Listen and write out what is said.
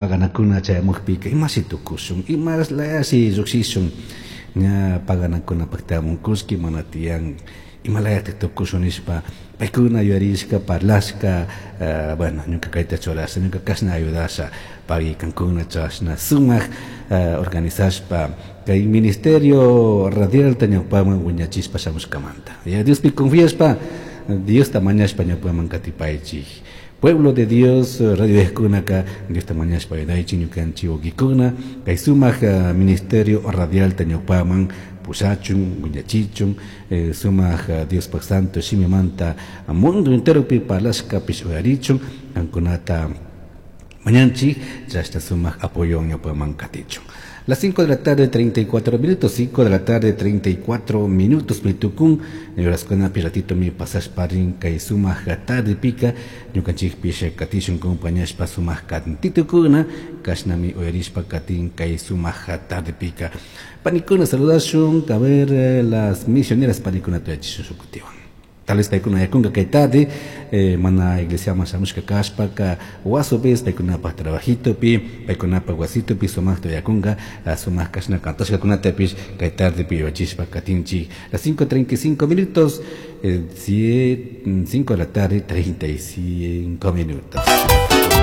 Paganakuna chayamukpika imashi tukushun, imalayashi llukshishun, ña paganakunapakta kullki mana tiyan, imalayatik tukushun nishpa paykuna yuyarishka parlashka, bueno, ñuka kayta churasha, ñuka kashna ayudasha, pagui kankuna chashna sumak organizashpa kay ministerio radialta ñawpaman wiñachishpa shamushkamanta. Ya Diospi confiashpa, Diosta mañashpa ñawpaman katipaychik. Pueblo de Dios, radio kunaka, Diosta mañashpa ayudaychik ñukanchik wawkikuna, kay sumak ministerio radialta ñawpaman pushachun, wiñachichun, sumak Diospaj santo shimimanta mundo enteropi parlashkapish uyarichun, kankunata mañanchik, chashna sumak apoyo ñawpaman katichun. Las 5 de la tarde, 34 minutos, 5 de la tarde, 34 minutos, mi tukun, horaskunapi ratito mi pasashpa rin kay sumak tardepika, ñukanchikpish katishun compañashpa sumak kantitukuna, kashnami uyarishpa katin kay sumak tardepika. Panikuna saludashun, a ver, las misioneras panikuna tuyachishun shukutiwan. Tal vez paykuna yakunka kay tarde, mana iglesiaman shamushka kashpaka, wasupis paykunapaj trabajitopi, paykunapaj wasitopi sumakta yakunka, sumak kashna kantashkakunatapish kay tardepi yuyachishpa katinchik. Las 5:35 minutos, 5 de la tarde, 35 minutos.